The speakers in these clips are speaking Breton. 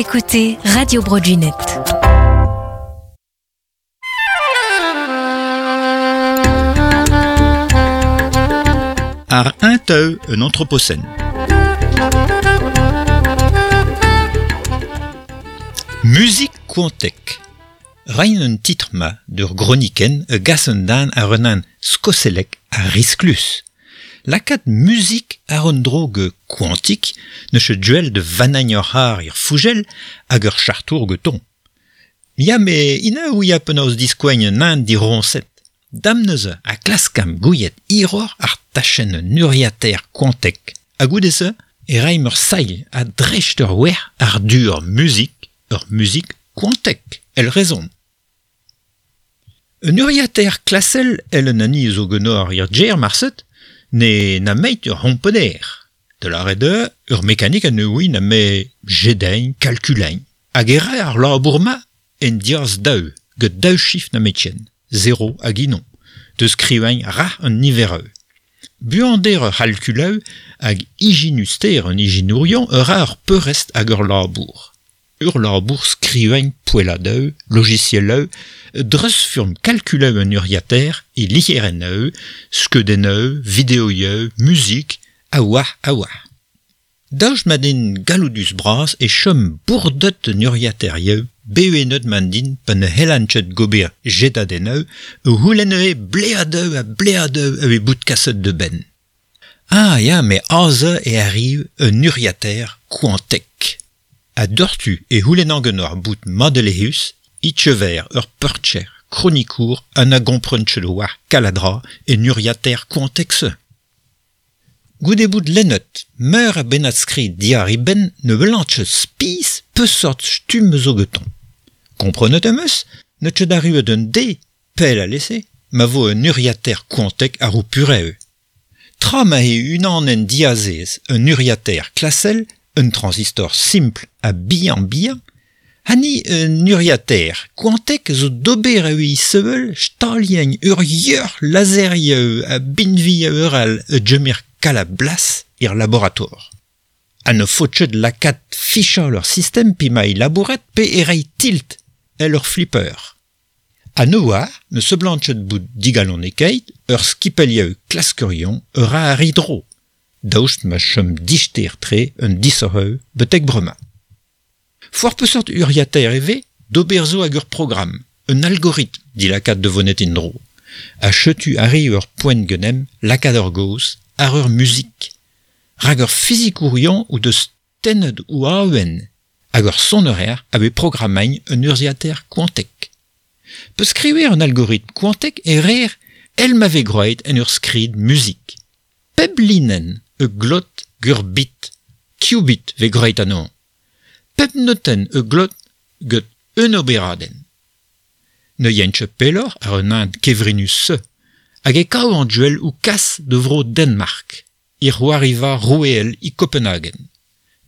écoutez Radio Bro Gwened. Ar un teu un anthropocène. Muzik koantek. Reiñ un titr-ma d'ur gronikenn e gas un den àr un hent skoselek ha risklus. Lakaat muzik àr un dro ge koantik n'eus ket duel de vannañ ur c'harr er fougel hag ur chartour getoñ. Ya me ina ouia penaos diskoagn un hent diroñset. Dam neuze ha klaskamp gouiet hiroc'h àr tachenn un urzhiataer koantek. Ha goude-se e raimp ur sailh a-dreist ur wec'h àr du ur muzik, ur muzik koantek, èl rezon. Un urzhiataer klasel èl un hani zo ganeoc'h er gêr marset ne nameit ur c'homponer. Da lâret eo ur mekanik a ne oui nemet jedañ, kalkulañ. Hag e ra ar labour-mañ en diaz daou, get daou chifr nemetken, zero hag unan, da skrivañ rac'h an niveroù. Buander ur c'halkulañ hag ijinus-ter an ijinourion a ra ar peurrest ag ur labour. Ur labour skrivañ poelladoù, logisielloù, dreuzfurm kalkulañ un urzhiataer e lizherennoù, skeudennoù, videoioù, muzik, ha oar ha oar. Daoust ma n'int galloudus-bras e chom bourdet un urzhiataerioù bevennet ma n'int pa ne c'hellan ket gober jedadennoù o c'houlenn ivez bleadoù ha bleadoù evit bout kaset da benn. Ah ya, met aze e arriv un urzhiataer koantek. Ha doc'htu e c'houlennan ganeoc'h bout madelezhus, e-keñver ur peurcher, kronikour ha na gompren ket war kaladra en urzhiataer koantek-se. Goude bout lennet meur a bennad-skrid diàr e benn ne welan ket spis peseurt stumm zo getoñ. Komprenet em eus n'eo ket arruet un deiz, pell alese, ma vo un urzhiataer koantek àr ho purev. Tra ma eo unanenn diazez un urzhiataer klasel, un transistor simpl ha bihan-bihan, hani un urzhiataer koantek zo d'ober evit sevel staliañ ur yoc'h lazerioù ha binvioù all a gemer kalz a blas er laborator. Ha ne faot ket lakaat fichañ ur sistem pe ma labouret pe e reiñ tilt èl ur flipper. Ha ne oar ne seblant ket bout digalonekaet ur skipailhoù klaskerion a ra ar e dro, daoust ma chom dister-tre un disoc'hoù betek bremañ. Foar peseurt urzhiataer e vez d'ober zo hag ur programm, un algoritm dilakaat da vonet en-dro. Ha setu arri ur poent ganemp lakaat ur gaoz àr ur muzik. Rak ur fizikourion o deus tennet o awen hag ur soner a vez programmañ un urzhiataer koantek. Pa skriver un algoritm koantek e reer èl ma vez graet en ur skrid muzik. Pep linenn e glot gant ur bit, qubit vez graet anezhañ. Pep notenn e glot gant un oberadenn. Ne yaint ket pelloc'h àr un hent kevrinus-se hag e kav an duel o kas da vro Danmark, e c'hoariva roueel e Kopenhagen.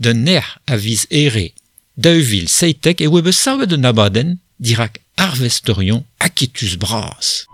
D'an nec'h a viz Here 2017 e oa bet savet un abadenn dirak arvesterion aketus-bras.